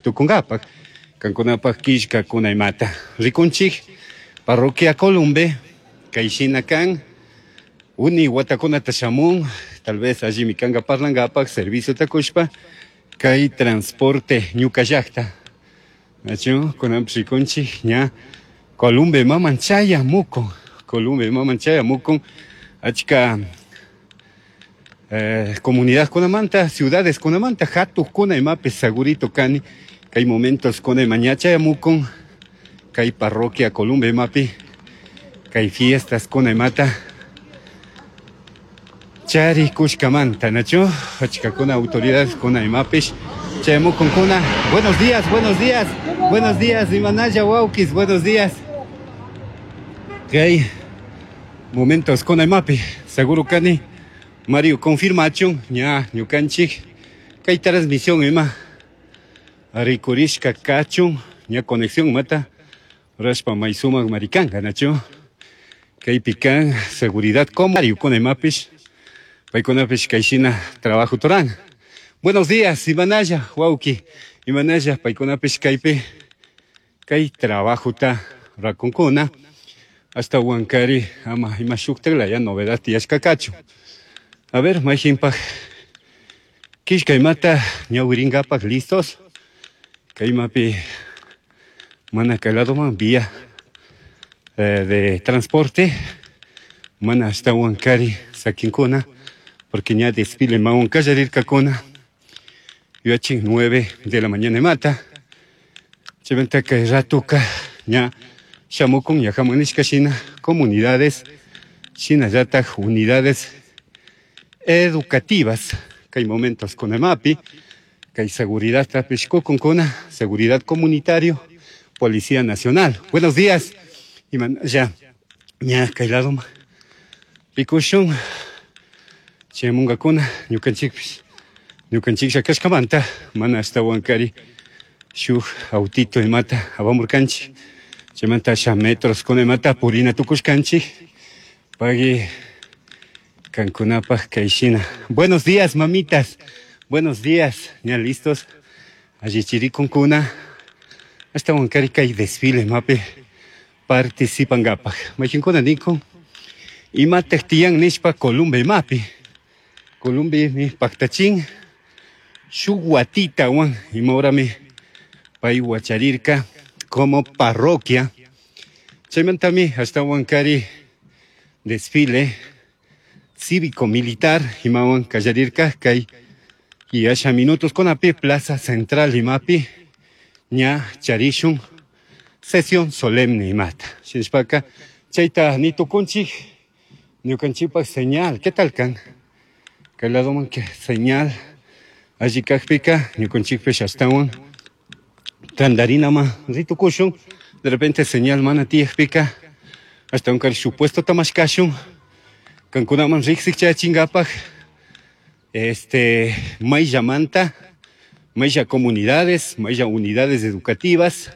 Tucungapaj, kankunapaj killkakuna imata. Rikunchik parroquia Columbe, kayshina kan, uni watakunata shamun, tal vez allimi kanka parlankapaj servicio takushpa, kay transporte ñuka llakta. Nachu, kunanpish rikunchik ña Columbe maman chayamukun, Columbe maman chayamukun, achka comunidad kunamanta, ciudades kunamanta, hatukuna imapish segurito kani, kay momentos kuna ima ña chayamukun, kay parroquia Columbe imapi, kay fiestas kuna imata charikushkamanta, nachu, achkakuna autoridades kuna imapish chayamukunkuna. Buenos días, buenos días, buenos días, imanalla wawkis, buenos días. Kay momentos kuna imapi, seguro kani, Mario confirmachun, ña ñukanchik, kay transmisión ima rikurishka kachun, ña conexión mata, rashpa may sumak marikanka, nachu, kaypi kan seguridad como Mario kuna imapish, paykunapish kayshina trabajo turan. Buenos días, imanalla, wawki, imanalla, paykunapish kaypi, kay trabajota rakunkuna, hasta Huancari, ama ima shuktak laya novedad tiyashka kachu. A ver, mayhinpaj, killka imata ñawirinkapak listos, kaymapi mana kay ladoman vía de transporte, mana hasta Huancari sakinkuna, porque ña desfile mawan kallarirkakuna, yuyachin 9 de la mañana imata, chaymanta kay ratuka ña shamukun ña hamunishka shina comunidades, shinallatak unidades educativas, kay momentos kunamapi, kay seguridad tapish kukunkuna, seguridad comunitario, Policía Nacional. Buenos días. Imanalla ña kay ladoman rikushun chayamunkakuna ñukanchikpish, ñukanchiklla kashkamanta mana ashtawankari shuk autito imata apamurkanchik, chaymanta asha metros kuna imata purina tukushkanchik, pagui kankunapaj kayshina. Buenos días, mamitas. Buenos días. Ña listos. Allichirikunkuna. Ashtawankari kay desfile mapi participankapaj. Mayqinkuna nikun imataj tiyan nishpa Columbe mapi. Columbe mi paktachin shuk watitawan imahorami pay wacharirka como parroquia. Chaymantami ashtawankari desfile cívico-militar imawan kallarirka kay y asha minutos kunapi Plaza Central imapi ña charishun sesión solemne imata. Shinashpaka chayta nitukunchik ñukanchikpak señal, ¿qué tal kan? Kay ladoman que señal alli kakpika ñukanchikpish ashtawan tandarinama ritukushun, de repente señal mana tiyakpika ashtawan kari shuk puestota mashkashun kankunaman riksik chayachinkapak mayllamanta, maylla comunidades, maylla unidades educativas,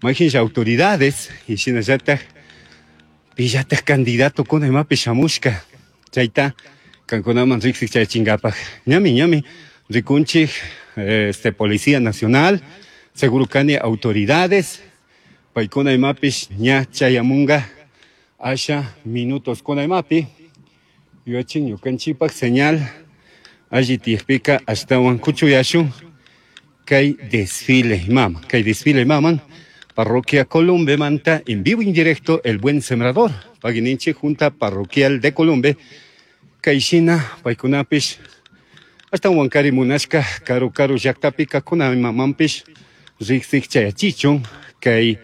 maylla autoridades y shinallatak pillatak candidato kuna imapi shamushka chayta kankunaman riksik chayachinkapak. Ñami, ñami rikunchik, Policía Nacional, seguro kani autoridades, paykuna imapish ña chayamunga asha minutos kuna imapi, yuyachin ñukanchikpak señal alli tiyakpika ashtawan kuchuyashun kay desfile imama, kay desfile imaman parroquia Columbe manta en vivo en directo El Buen Sembrador, pagininchik Junta Parroquial de Columbe, kayshina paykunapish ashtawan kari munashka karu karu llaktapika kuna imamanpish riksik chayachichun kay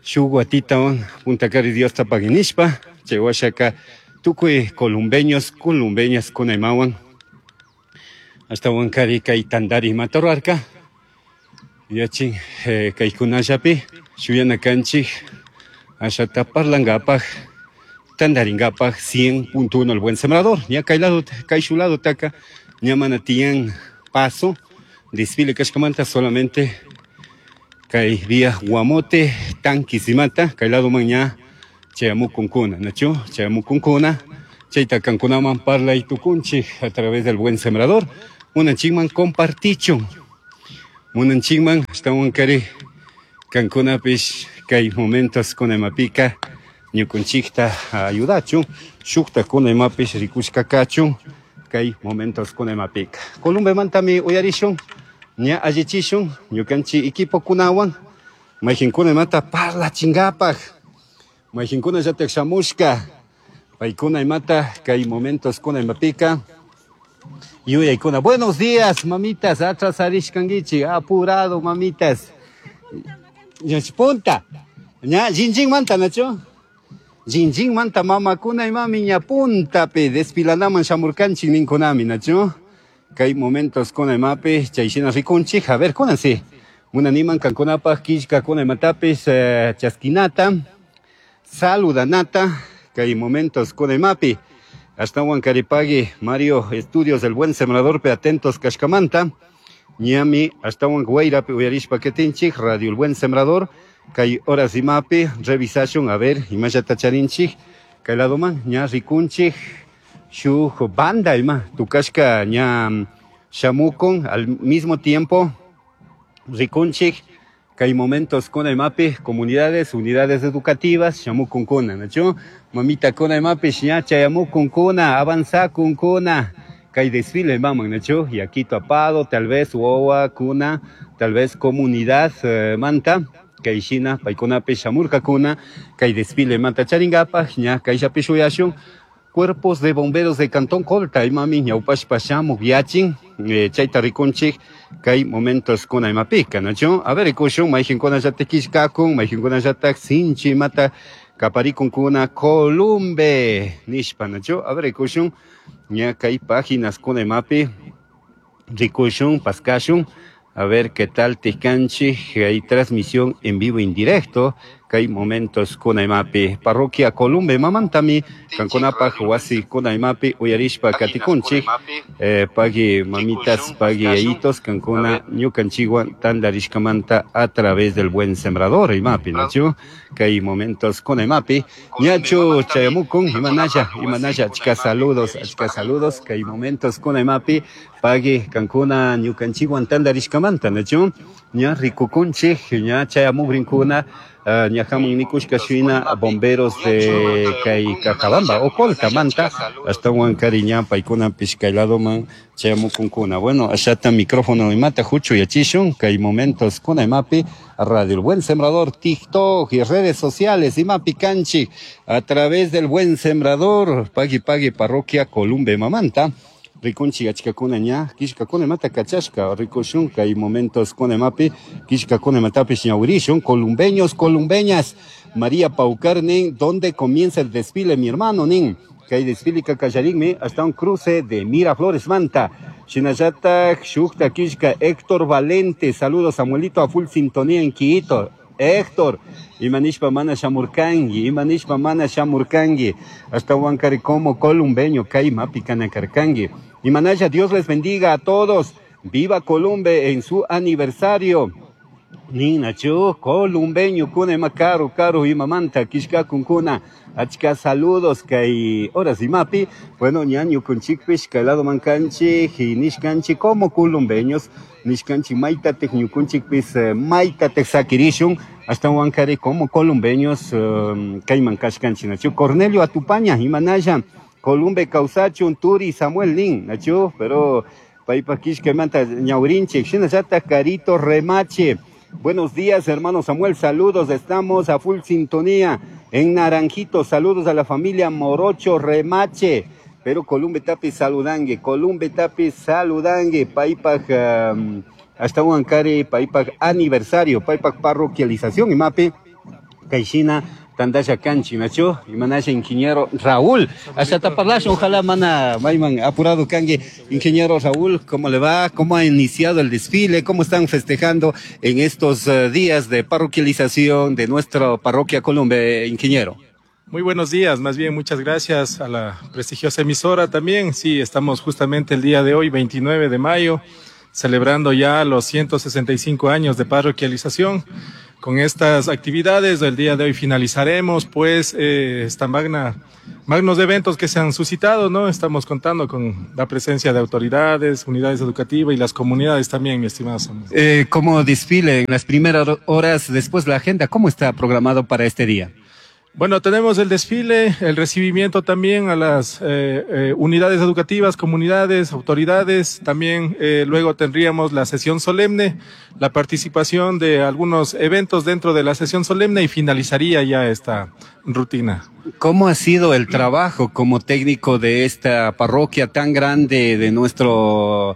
shuk watitawan punta kari Diosta paginishpa chay washaka tukuy columbeños, columbeñas kuna imawan ashtawan kari kay tandari imata rurarka. Yachin, kaykunallapi shuyana kanchik ashata parlankapaj tandarinkapak 100.1 El Buen Sembrador. Ña kay lado, kay shu lado taka ña mana tiyan paso desfile kashkamanta solamente kay vía Guamote Tanquisimata kay lado man ña chayamukunkuna, nachu chayamukunkuna chayta kankunaman parlay tukunchik a través del Buen Sembrador. Munanchikman compartichun. Munanchikman ashtawankari kankunapish kay momentos kunamapika ñukunchikta ayudachun shuktakuna imapish rikushka kachun kay momentos kunamapika. Columbemantami uyarishun ña allichishun ñukanchik equipokunawan mayqinkuna imata parlachinkapaq mayqinkunallatak shamushka paykuna imata kay momentos kunamapika yuyaykuna. Buenos días, mamitas, atrasarishkankichik, apurado, mamitas. Punta. Ña, jinjinmanta, nachu? Jinjinmanta mamakuna imami ña puntapi desfilanaman shamurkanchik ninkunami, nachu? Kay momentos kuna imapi chayshina rikunchik. A ver, kunansi. Munaniman kankunapaq killkakuna imatapis chaskinata, saludanata, kay momentos kuna imapi. Ashtawan karipagui Mario Estudios del Buen Sembrador pe atentos kashkamanta. Ñami ashtawan guayrapi uyarishpa ketinchik Radio El Buen Sembrador kay horas imapi revisashun a ver imallata charinchik kay ladoman ña rikunchik shuk banda ima tukashka ña shamukun al mismo tiempo rikunchik kay momentos kuna imapi comunidades, unidades educativas shamukunkuna, nachu? Mamita kuna imapi ña chayamukunkuna, avanzakunkuna kay desfile maman, nachu? Y aquí tapado, tal vez wawa kuna, tal vez comunidad manta kay shina paykunapi shamurkakuna kay desfile manta charingapaj ña kayllapi shuyashun cuerpos de bomberos de Cantón Colta imami ñawpashpa shamuk yachin chayta rikunchik kay momentos kuna imapika, nachu? A ver, rikushun mayqinkunallatak killkakun mayqinkunallatak sinchi imata kaparikunkuna Columbe nishpa, nachu? A ver, rikushun ña kay páginas kuna imapi rikushun paskashun. A ver qué tal tikanchik, hay transmisión en vivo en directo, kay momentos kuna imapi parroquia Columbe mamantami kankunapaj wasi kuna imapi uyarishpa katikunchik pagui mamitas pagui yayitos kankuna ñukanchikwan tantarishkamanta a través del Buen Sembrador imapi, nachu? Kay momentos kuna imapi ñachu chayamukun imanalla imanalla achka saludos kay momentos kuna imapi pagui kankuna ñukanchikwan tantarishkamanta, nachu? Ña rikukunchik ña chayamukrinkuna ñajamun nikushka shina bomberos de kay Cajabamba o Colta manta ashtawan kari ña paykunapish kay ladoman chayamukunkuna. Bueno, allata micrófono imata huchu yachishun kay momentos kuna imapi Radio El Buen Sembrador, TikTok y redes sociales imapi kanchik a través del Buen Sembrador, pagui pagui parroquia Columbe mamanta. Rikunchik achkakuna ña killkakuna imata kachashka rikushun kay momentos kuna imapi killkakuna imatapish ñawirishun. Columbeños, columbeñas, María Paucar nin, ¿dónde comienza el desfile, mi hermano nin? Kay desfile kakallarinmi hasta un cruce de Miraflores manta. Shinallatak shukta killka Héctor Valente, saludos Samuelito a full sintonía en Quito. Héctor, imanishpa mana shamurkangi, imanishpa mana shamurkangi, hasta Huancaricoma como columbeño, kay mapi kanakarkangi. Imanaya, Dios les bendiga a todos. Viva Columbe en su aniversario. Ninachu, columbeño, kuna ima karu, karu, imamanta, kishka kunkuna. Achka saludos, kay horas imapi. Bueno, ñañu kunchikpish, kay lado mankanchi, nishkanchi, como columbeños, nishkanchi maitatek, ñukunchikpis, maitatek sakirishun, hasta Huancari como columbeños, kay mankashkanchi, nachu. Cornelio Atupaña, imanaya, Columbe Causachun, Turi, Samuel Nin, nachu, pero paypa kishkamanta ñawrinchik, shinallata Carito Remache. Buenos días, hermano Samuel, saludos, estamos a full sintonía en Naranjito, saludos a la familia Morocho Remache, pero Columbe Tapi saludangue, Columbe Tapi saludangue, paypaj hasta Huancari, paypaj aniversario, paypaj parroquialización, imapi, kayshina, tandasha kanchi, nachu, imanasha ingeniero Raúl, hasta taparlash, ojalá mana, mayman apurado kangue, ingeniero Raúl, ¿cómo le va? ¿Cómo ha iniciado el desfile? ¿Cómo están festejando en estos días de parroquialización de nuestra parroquia Columbe, ingeniero? Muy buenos días, más bien muchas gracias a la prestigiosa emisora también. Sí, estamos justamente el día de hoy, 29 de mayo, celebrando ya los 165 años de parroquialización. Con estas actividades del día de hoy finalizaremos, pues, esta magna magnos eventos que se han suscitado, ¿no? Estamos contando con la presencia de autoridades, unidades educativas y las comunidades también, mi estimado Samuel. Como desfile en las primeras horas, después la agenda, ¿cómo está programado para este día? Bueno, tenemos el desfile, el recibimiento también a las unidades educativas, comunidades, autoridades. También luego tendríamos la sesión solemne, la participación de algunos eventos dentro de la sesión solemne y finalizaría ya esta rutina. ¿Cómo ha sido el trabajo como técnico de esta parroquia tan grande de nuestro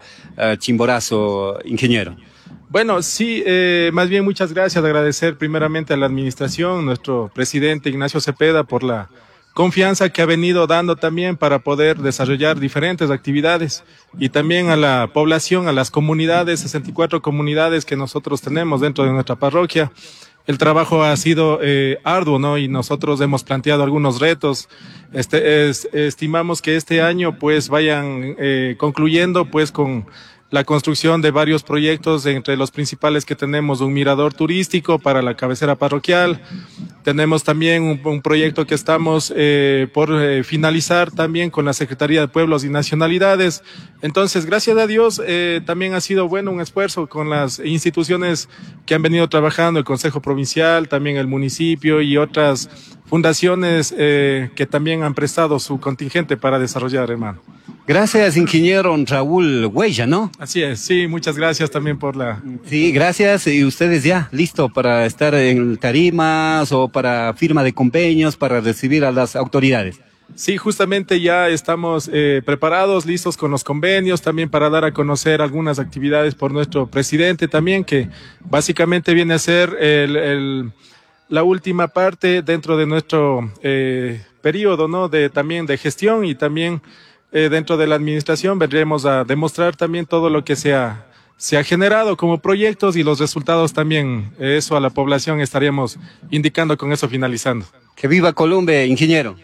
Chimborazo, ingeniero? Bueno, sí, más bien muchas gracias, agradecer primeramente a la administración, nuestro presidente Ignacio Cepeda, por la confianza que ha venido dando también para poder desarrollar diferentes actividades y también a la población, a las comunidades, 64 comunidades que nosotros tenemos dentro de nuestra parroquia. El trabajo ha sido arduo, ¿no? Y nosotros hemos planteado algunos retos. Estimamos que este año pues vayan concluyendo pues con la construcción de varios proyectos, entre los principales que tenemos un mirador turístico para la cabecera parroquial. Tenemos también un proyecto que estamos por finalizar también con la Secretaría de Pueblos y Nacionalidades. Entonces, gracias a Dios, también ha sido bueno un esfuerzo con las instituciones que han venido trabajando, el Consejo Provincial, también el municipio y otras fundaciones que también han prestado su contingente para desarrollar, hermano. Gracias, ingeniero Raúl Huella, ¿no? Así es, sí, muchas gracias también por la... Sí, gracias, y ustedes ya, listo para estar en tarimas o para firma de convenios, para recibir a las autoridades. Sí, justamente ya estamos preparados, listos con los convenios, también para dar a conocer algunas actividades por nuestro presidente también, que básicamente viene a ser la última parte dentro de nuestro periodo, ¿no? De, también de gestión y también dentro de la administración vendremos a demostrar también todo lo que se ha generado como proyectos y los resultados también. Eso a la población estaríamos indicando con eso finalizando. Que viva Columbe, ingeniero.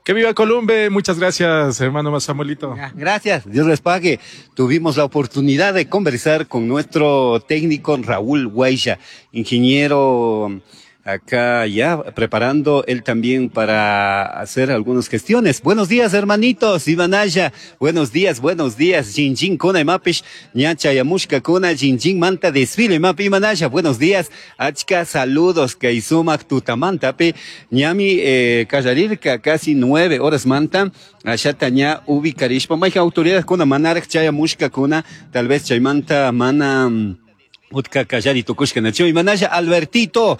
Que viva Columbe, muchas gracias, hermano Samuelito. Gracias, Dios les pague. Tuvimos la oportunidad de conversar con nuestro técnico Raúl Huella, ingeniero acá ya preparando él también para hacer algunas gestiones. Buenos días, hermanitos, Ivanaya. Buenos días, buenos días. Jinjin kuna imapish, ñacha yamushka kuna, jinjin manta desfile imapi Ivanaya. Buenos días. Achka saludos, kaisumak tutamantapi. Ñami kallarirka casi 9 horas manta. Allá ña ubicarishpa. Maija autoridades kuna manaraj chayamushka kuna, tal vez chaymanta mana... Utka kallari tukushka nacho. Imanaya Albertito,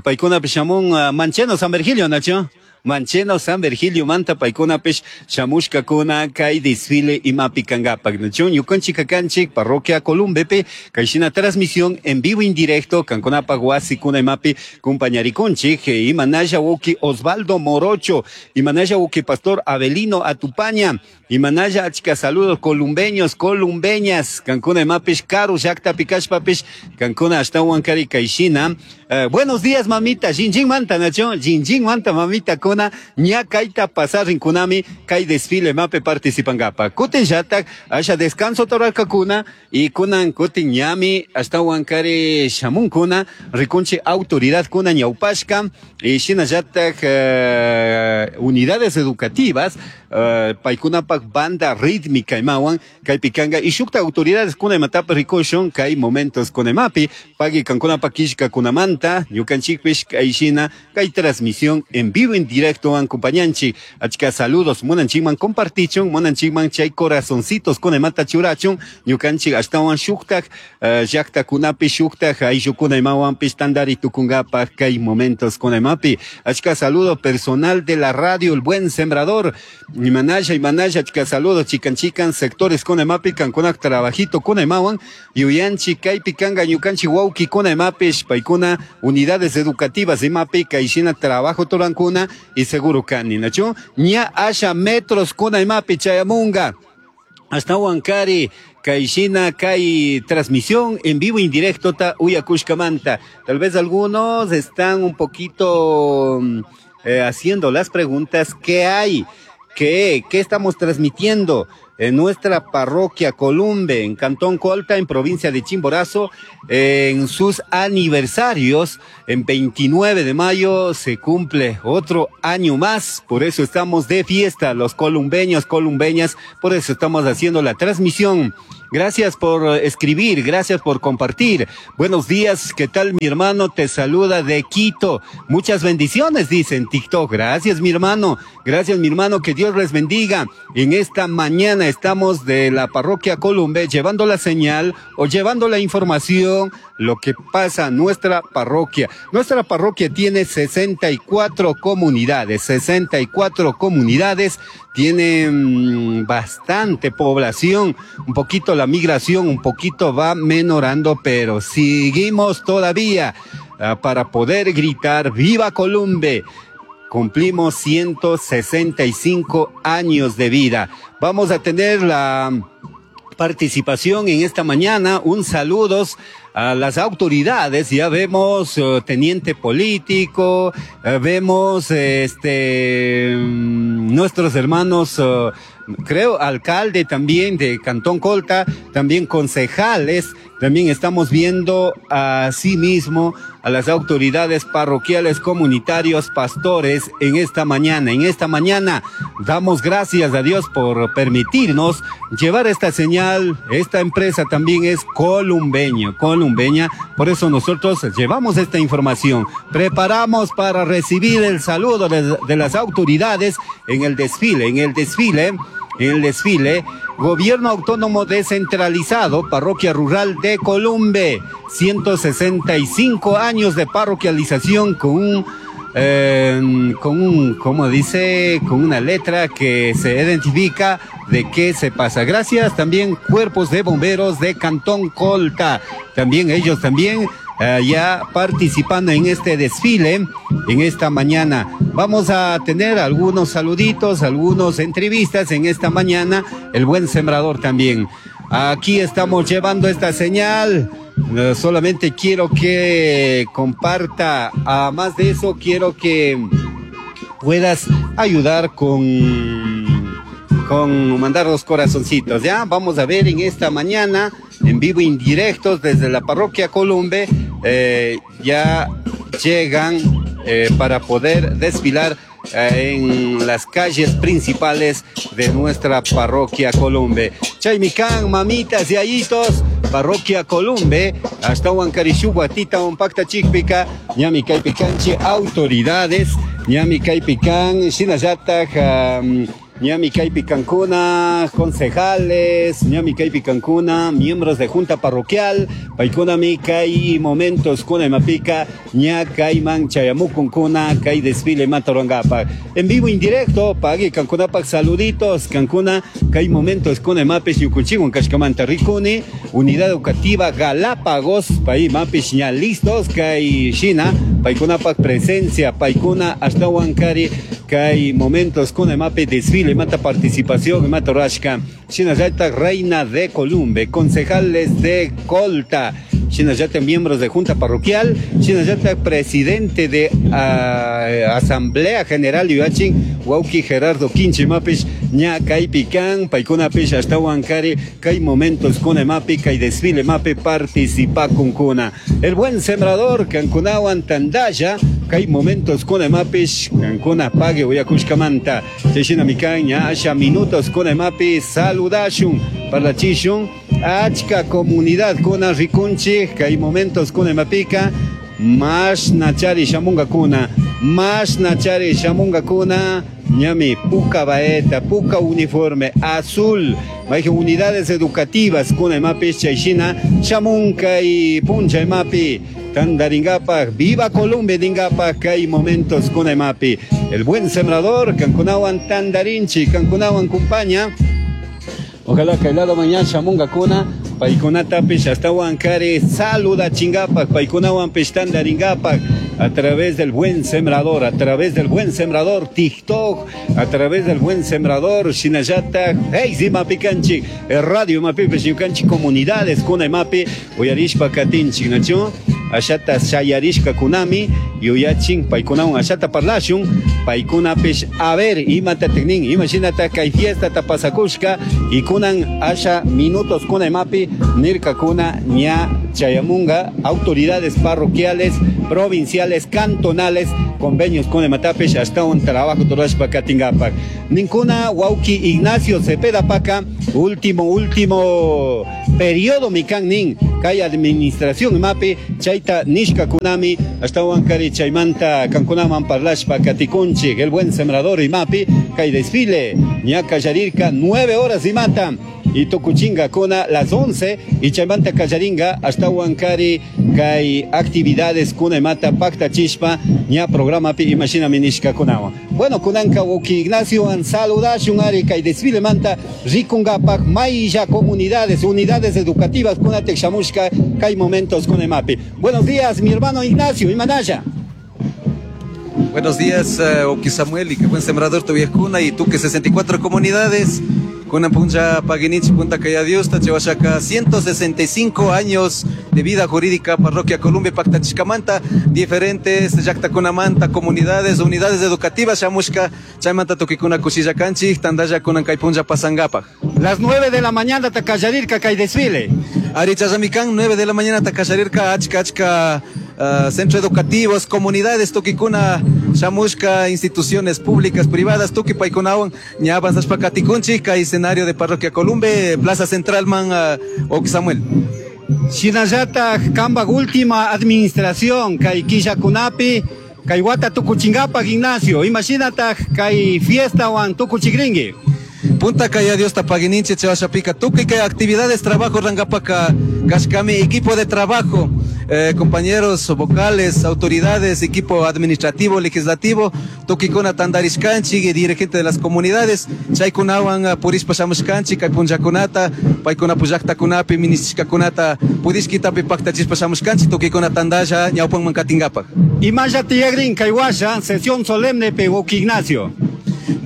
paykuna shamun Mancheno San Virgilio nacho. Mancheno San Virgilio manta paykunapish shamushkakuna kay desfile imapi kangapak nacho. Ñukanchik kakanchik parroquia Columbepe kayshina transmisión en vivo indirecto kankunapak wasikuna imapi kumpañarikunchik. Imanaya wuki Osvaldo Morocho, imanaya wuki Pastor Abelino Atupaña, imanaya achka saludos columbeños, columbeñas, kankuna imapish karu llaqtapi kashpapish kankuna ashtawan kari kayshina. Buenos días mamita, jinjin manta nacho, jinjin manta mamita kuna ña kayta pasarin kunami kay desfile mape participangapa. Kutin llatak asha descanso toralkakuna y kunan kutin ñami ashtawan kari shamunkuna rikunchi autoridad kuna ñawpashka y shinallatak unidades educativas paykunapak banda rítmica imawan kaypi kanga y shukta autoridades kuna imatapi rikushun kay momentos kunemapi pagui kankunapak killkakunamanta ñukanchikpish kayshina kay transmisión en vivo en directo acompañanchi. Achka saludos munanchikman compartichun munanchikman chay corazoncitos kunemata churachun ñukanchik ashtawan shuktak llaqtakunapi shuktak ayllukuna imawanpish tandari tukungapak kay momentos kunemapi. Achka saludo personal de la radio El Buen Sembrador. Imanaya, imanaya, achka saludos chican chican sectores kunemapi kankunak trabajito kunemawan yuyanchi kaypi kanga ñukanchi wawki kunemapish paykuna unidades educativas imapi kayshina trabajo turankuna y seguro kani nachu ña asha metros kuna imapi chayamunga hasta Huancari kayshina kay transmisión en vivo indirecto ta uyakushkamanta. Tal vez algunos están un poquito haciendo las preguntas ¿qué hay? ¿Qué estamos transmitiendo? En nuestra parroquia Columbe, en Cantón Colta, en provincia de Chimborazo, en sus aniversarios, en 29 de mayo se cumple otro año más, por eso estamos de fiesta, los columbeños, columbeñas, por eso estamos haciendo la transmisión. Gracias por escribir, gracias por compartir. Buenos días, ¿qué tal mi hermano? Te saluda de Quito. Muchas bendiciones, dice en TikTok. Gracias mi hermano, gracias mi hermano, que Dios les bendiga. En esta mañana estamos de la parroquia Columbe llevando la señal o llevando la información, lo que pasa en nuestra parroquia. Nuestra parroquia tiene 64 comunidades, 64 comunidades, tiene bastante población, un poquito la migración, un poquito va menorando, pero seguimos todavía para poder gritar ¡Viva Columbe! Cumplimos 165 años de vida. Vamos a tener la participación en esta mañana. Un saludos a las autoridades. Ya vemos teniente político, vemos nuestros hermanos, creo alcalde también de Cantón Colta, también concejales, también estamos viendo asimismo a las autoridades parroquiales, comunitarios, pastores en esta mañana. En esta mañana damos gracias a Dios por permitirnos llevar esta señal. Esta empresa también es columbeña, por eso nosotros llevamos esta información. Preparamos para recibir el saludo de las autoridades en el desfile, Gobierno Autónomo Descentralizado, Parroquia Rural de Columbe, 165 años de parroquialización con una letra que se identifica de qué se pasa. Gracias también cuerpos de bomberos de Cantón Colta, también ellos también ya participando en este desfile en esta mañana. Vamos a tener algunos saluditos, algunas entrevistas en esta mañana, el buen sembrador también. Aquí estamos llevando esta señal. Solamente quiero que comparta, además de eso quiero que puedas ayudar con mandar los corazoncitos, ¿ya? Vamos a ver en esta mañana, en vivo, indirectos, desde la parroquia Columbe, ya llegan para poder desfilar en las calles principales de nuestra parroquia Columbe. Chaymicán, mamitas y ayitos, parroquia Columbe, hasta Huancarishu, Tita, Pacta Chicpica, Ñami Caipicanchi, autoridades, Ñami Caipicán, Shinayata, Ñami Caipicancuna, concejales, Ñami Caipicancuna, miembros de junta parroquial, Paikunami, Kai momentos, Kuna Mapica, Ña Caiman, Chayamucuncuna, Kai desfile Matorangapa. En vivo indirecto, Pagui Cancunapac, saluditos, Cancuna, Kai momentos, Kuna Mapes, Yucuchigun, Cashcamanta Ricuni, Unidad Educativa Galápagos, Pai Mapes, ña listos, Kai China, Paikunapac presencia, Paikuna, hasta Huancari, Kai momentos, Kuna Mape, desfile, mata participación, mata rashka. Shinayata, reina de Columbe, concejales de Colta, Shinayata, miembros de junta parroquial, Shinayata, presidente de Asamblea General Yuachin, Wauki Gerardo Quinche Mapish, Ña Caipican, Paikuna Pish, hasta Huancari, Kai momentos, Kuna Mapi, Kai desfile Mape, participa con Kuna. El buen sembrador, Cancunawan Tandaya, Kai momentos, Kuna Mapish, Cancuna Pague, Uyakushkamanta, Cheshina Micaña, Asha minutos, Kuna Mapi, saludashun, parlachishun, Achka comunidad, Kuna Rikunchi, Kai momentos, Kuna Mapica, Mas Nachari Shamunga Kuna, Mas Nachari Shamunga Kuna, Ñami, Puca Baeta, Puca Uniforme, Azul, Maije unidades educativas, Kuna Mapi, Chayshina, Shamunka y Puncha Mapi, Tandaringapa, Viva Columbe, Dingapa, Kai momentos, Kuna Mapi, el buen sembrador, Cancunawan Tandarinchi, Cancunawan Cumpaña. Ojalá que el lado mañana Shamunga Kuna, Paikunata Pish, hasta Huancari, saluda Chingapac, Paikunawan Pish Tandaringapac, a través del buen sembrador, a través del buen sembrador, TikTok, a través del buen sembrador, Shinayata, Hey, Mapi Canchi, Radio Mapi, Peshiucanchi, comunidades, Kuna Mapi, Oyarishpa Katinchi, Nacho. Ashata shayarishkakunami yuyachin paykunawan ashata parlashun paykunapish a ver imatatik nin imashinata kay fiestata pasakushka y kunan asha minutos kuna imapi nirkakuna ña chayamunga autoridades parroquiales, provinciales, cantonales, convenios kuna imatapish ashtawan trabajo rurashpa katinkapak. Ninkuna wawki Ignacio Cepeda paka último periodo mikan nin kay administración imapi chayta nishkakunami ashtawan kari chaymanta kankunaman parlashpa katikunchik el buen sembrador imapi kay desfile ña kallarirka 9 horas imata y tukuchinga kuna las 11 y chaymanta kallaringa ashtawan kari kay actividades kuna imata paktachishpa ña programapi imashinami nishkakunawan. Bueno, kunanka wawki Ignacio saludashun ari kay desfile manta rikungapak maylla comunidades, unidades educativas kunatik shamushka kay momentos kuna imapi. Buenos días, mi hermano Ignacio, imanalla. Buenos días, wawki Samuel, y qué buen sembrador tu viejuna y tú que 64 comunidades. Kunan puncha paguininchi punta kaya Dios, tachewashaka 165 años de vida jurídica, parroquia Columbe, Pactachicamanta, diferentes llaqtakunamanta, comunidades, unidades educativas, shamushka, chaymanta tukikuna kushillakanchik, tandalla kunan kay puncha pasangapaj. Las 9 de la mañana takallarirka kay desfile. Ari challamikan, 9 de la mañana takallarirka, achka, achka, centros educativos, comunidades, tukikuna, shamushka, instituciones públicas, privadas, tuki paykunawan, ña avanzashpa katikunchik, kay escenario de Parroquia Columbe, Plaza Central man, wawki Samuel. Shinallata kambak última administración, kay killakunapi, kay wata tukuchingapak Ignacio, imashinata kay fiesta wan tukuchikrinki. Punta kaya Dios tapaguininche chewashapika tukuy kay actividades, trabajo rangapaka kashkami equipo de trabajo, compañeros vocales, autoridades, equipo administrativo, legislativo, tukikuna tandarishkanchik, dirigente de las comunidades, chaykunawan purishpa shamushkanchik, kay punllakunata, paykuna pullaktakunapi, ministishkakunata, pudishkitapi paktachishpa shamushkanchik, tukikuna tandalla ñawpanman katinkapak. Imalla tiyagrin kay washa, sesión solemne pe wawki Ignacio.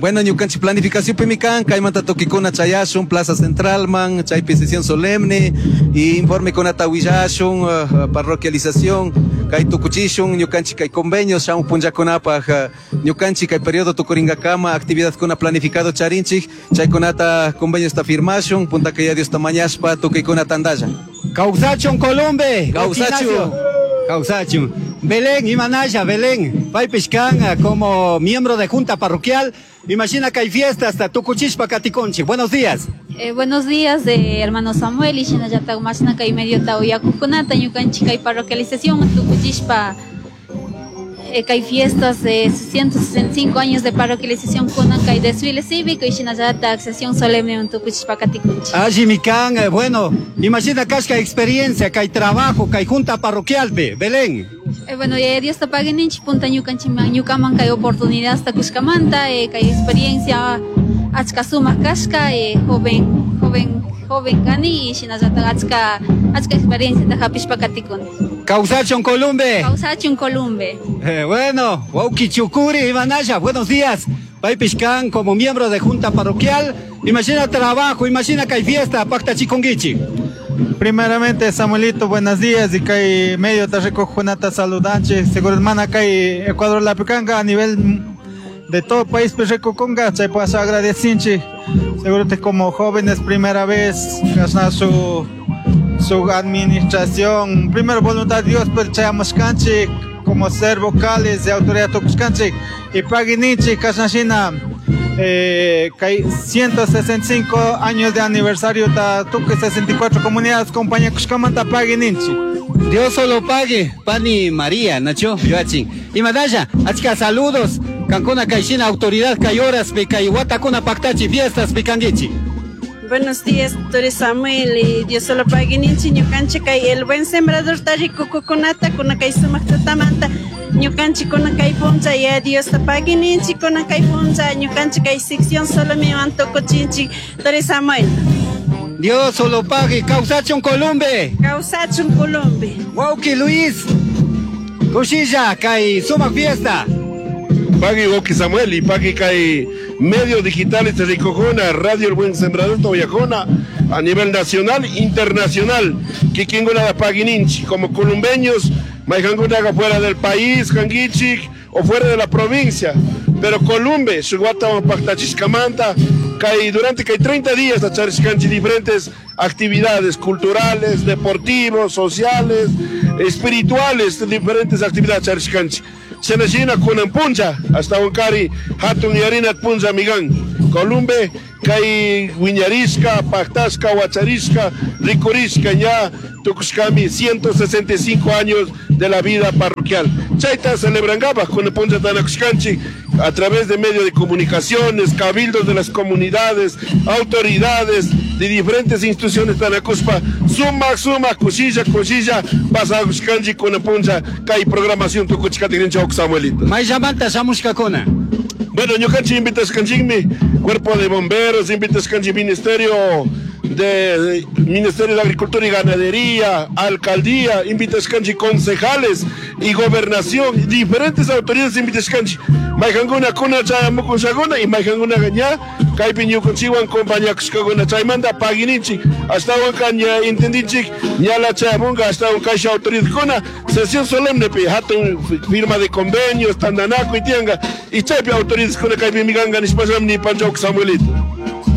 Bueno, ñukanchik planificación pimikan, kaymanta tukikuna chayashun, Plaza Central man, chaypi sesión solemne, y informe kunata willashun, parroquialización, kay tukuchishun, ñukanchik kay convenios, shamu punllakunapaj, ñukanchik kay periodo tukuringakama, actividad kuna planificado charinchik, chaykunata convenios ta firmashun, punta kay Dios ta mañashpa, tukikuna tandalla. Kawsachun Columbe. Kawsachun. Kawsachun. Belén, imanalla, Belén, paypish kan como miembro de junta parroquial, imagina que hay fiesta hasta tukuchishpa katikonchik. Buenos días. Buenos días, hermano Samuel, y shinallata mashna kay medio tauyakukunata, ñukanchik kay parroquialización, tukuchishpa, kay fiestas de 165 años de parroquialización kunan kay desfile cívico y shinallata sesión solemne en tukuchishpa katikunchik. Allí mi kan, bueno, imagina kashka experiencia, kay trabajo, kay junta parroquial, be, Belén. Bueno, Dios te pague ninchi punta ñukanchiman, ñukaman kay oportunidad hasta kushkamanta, kay experiencia achka sumak kashka, joven, joven, joven kani y shinallata achka, achka experiencia ta hapishpa katikuni. Kawsachun Columbe. Kawsachun Columbe. Bueno, wawki Chukuri, Ivanaya, buenos días. Paypish kan como miembro de junta parroquial, imagina trabajo, imagina que hay fiesta, pacta chikonguichi. Primeramente, Samuelito, buenos días. Y kay medio ta recojunata saludanche. Seguro hermana kay Ecuador la picanga a nivel de todo país pues recoconga, chay paso agradecinche. Seguro que como jóvenes primera vez, gasna su administración, primero voluntad de Dios, pero chayamos canche como ser vocales de autoridad tokuscanche y paguiniche kasnashina. Kay 165 años de aniversario ta tuque 64 comunidades compañía Kushkamanta paguininchi. Dios solo pague, Pani María, Nacho, Yoachin. Y Madaya, achka saludos, Cancuna Kaishina, autoridad Kayoras, Pekaiwata, Pactachi, fiestas, Picanguichi. Buenos días, doctor Samuel, y Dios solo pague ninchi, ñukanchi kay el buen sembrador tarico kukunata, kuna kay sumaktatamanta, ñukanchi kuna kay puncha, ya Dios te pague ninchi, kuna kay puncha, ñukanchi kay sección solo mi mantoco chinchi, doctor Samuel. Dios solo pague, Kawsachun Columbe. Kawsachun Columbe. Wauki Luis, Kushilla, kay sumak fiesta. Pagui Wauki Samuel y pagui kay medios digitales de Ricojona, Radio El Buen Sembrador Toyajona, a nivel nacional, internacional. Kikinguna da Paguininchi, como columbeños, Mayqankunaqa fuera del país kankichik o fuera de la provincia. Pero Columbe, shuk watawan paktachishkamanta, kay durante kay 30 días charishkanchik diferentes actividades culturales, deportivos, sociales, espirituales, diferentes actividades charishkanchik. Shinashina kunan puncha, hasta kari hatun yarinat puncha migan. Columbe, kay wiñarishka, paktashka, wacharishka, rikurishka ya tukushkami 165 años de la vida parroquial. Chayta celebrangapaj kunan puncha tanakushkanchik a través de medios de comunicaciones, cabildos de las comunidades, autoridades de diferentes instituciones tanakuspa, suma, suma, kushilla, kushilla, pasakushkanchik kunan puncha kay programación tukuchikatikrinchik Samuelito. Mayllamanta shamushkakuna. Bueno, ñukanchik invitashkanchikmi cuerpo de bomberos, invitashkanchik ministerio de Ministerio de Agricultura y Ganadería, alcaldía, invitashkanchik concejales y gobernación, diferentes autoridades invitashkanchik. Mayqankuna kuna chayamukushakuna y mayqankuna ña kaypi ñukanchikwan compañakushkakuna chaymanta pagininchik ashtawan ña entendinchik ñala chayamunka ashtawan kaysha autoridadkuna sesión solemne pi hatun firma de convenios tantanakuy tiyanka y chaypi autoridadkuna kaypi mikanka nishpashami nipanchawk Samuelito.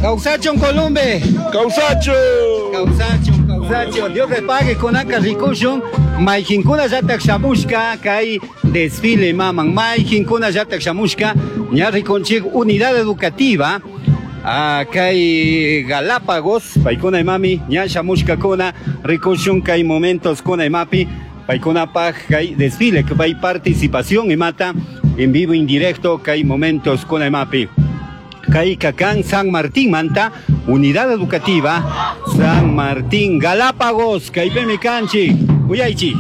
Kawsachun Columbe. Kawsachun. Kawsachun, kawsachun. Dios le pague kunaka rikushun. Mayqinkuna llatak shamushka kay desfile maman. Mayqinkuna llatak shamushka ña rikunchik unidad educativa. Kay Galápagos, paykuna imami ña shamushkakuna rikushun kay momentos kuna imapi paykunapaj kay desfile kay participación imata en vivo indirecto kay momentos kuna imapi. Kay Cacán San Martín Manta, Unidad Educativa San Martín Galápagos, kaypimi kanchik, uyaychik.